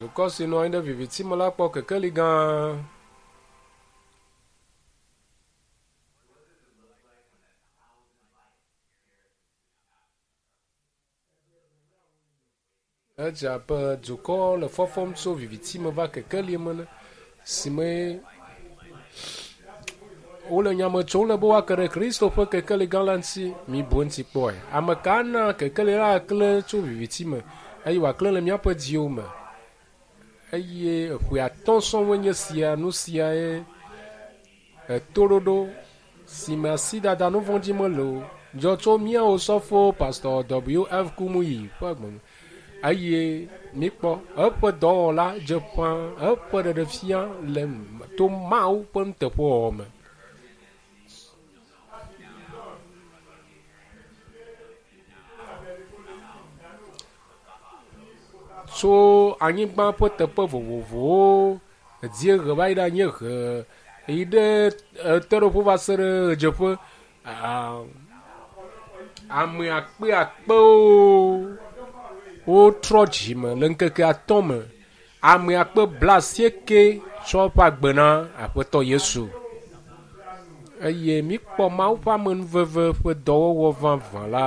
Dukɔ si nɔ anyi ɖe viviti me la kpɔ kekeli gã. Edze abe dukɔ le fɔfɔm tso viviti me va kekeli me ene si me wole nyame tsom le be woake ɖe Kristo ƒe kekeli gã la ŋuti. Mibu eŋuti kpɔe. Ame ka ana kekeli la aklẽ tso viviti me eye wòaklẽ le míaƒe dziwo me? Eye eƒe atɔ̃ sɔŋue nye sia, nu siae etoɖoɖo si me asidada nu vɔ̃ dzi mele o dzɔ tso mía osɔfo Pastor W.F. Kumuyi ƒe gbe me. Eye míkpɔ eƒe dɔwɔla dze ƒã eƒe ɖeɖefia le to Mawu ƒe nuteƒewɔwɔ me. Tso anyigba ƒe teƒe vovovowo, dziehe va yi ɖe anyiehe, yi ɖe ɣetoɖoƒe va se ɖe ɣedzeƒe. Ame akpeakpewo wotrɔ dzime le ŋkeke atɔ̃ me. Ame akpe blaasieke tsɔ eƒe agbe na Aƒetɔ Yesu. Eye míkpɔ Mawu ƒe amenuveve ƒe dɔwɔwɔ vavã la.